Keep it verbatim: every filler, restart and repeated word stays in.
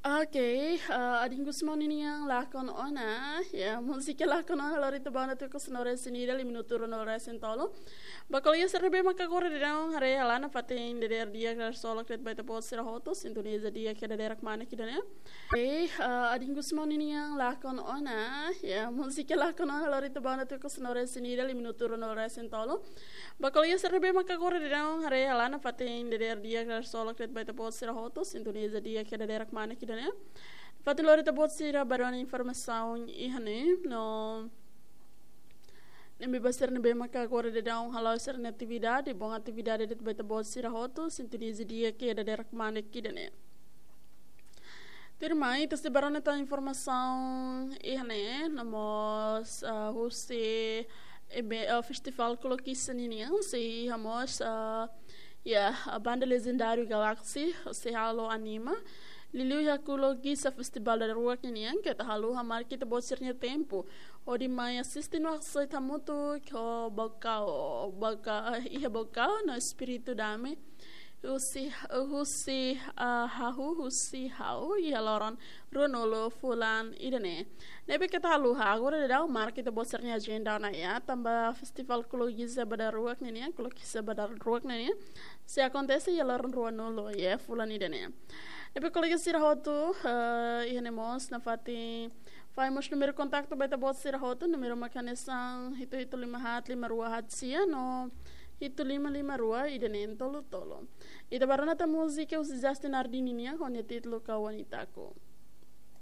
Ok, ah, adin Gusmão ninian lakon ona. Ya, múzika lakon ona lori tabana tu kos nore sinida li minutu ro nore sentolo. Ba kolega sira ne'ebé maka agora daudaun haree hela nafatin dadeer di'ak, solok de'it ba ita-boot sira hotu, sintoniza di'ak iha dadeer-manek ida-ne'e. Ok, ah, adin Gusmão ninian lakon ona. Ya, múzika lakon ona lori tabana tu kos nore sinida li minutu ro nore sentolo. Ba kolega sira ne'ebé maka agora daudaun haree hela nafatin dadeer di'ak, solok de'it ba ita-boot sira hotu, sintoniza di'ak iha dadeer-manek ida-ne'e. Fatin lori ita-boot sira ba rona informasaun iha ne'e, no ne'ebé ba sira ne'ebé maka agora daudaun hala'o sira-nia atividade, bom atividade de'it ba ita-boot sira hotu, sintoniza di'ak iha dadeer-manek ida-ne'e. Tuirmai, ita sei ba rona tan informasaun iha ne'e, no mós, ah, husi ebe, ah, Festival Kulokisa ninian, sei iha mós, ah, ya, ah, banda lejendáriu Galaxy, sei halo anima. Liuliu iha Kulokisa Festival daruak ninian, keta haluha marka ita-boot sira-nia tempu hodi mai asiste no asoit hamutuk ho Baucau, Baucau, iha Baucau no espíritu dame. Husi, husi, ah, hahú, husi ha'u, iha loron ruanulu fulan ida-ne'e. Ne'ebé keta haluha, agora daudaun marka ita-boot sira-nia ajenda ona ya, tanba Festival Kulokisa ba daruak ninian, Kulokisa ba daruak ninian sei akontese iha loron ruanulu, ya, fulan ida-ne'e. Ne'ebé kolega sira hotu, eh, iha ne'e mós nafatin fahe mós númeru kontaktu ba ita-boot sira hotu, númeru mak hanesan hitu hitu lima haat lima rua haat sia no hitu lima lima rua ida-ne'e tolu tolu. Ita ba rona tan múzika husi Justin Nardini nian ho nia títulu Kau Wanitaku.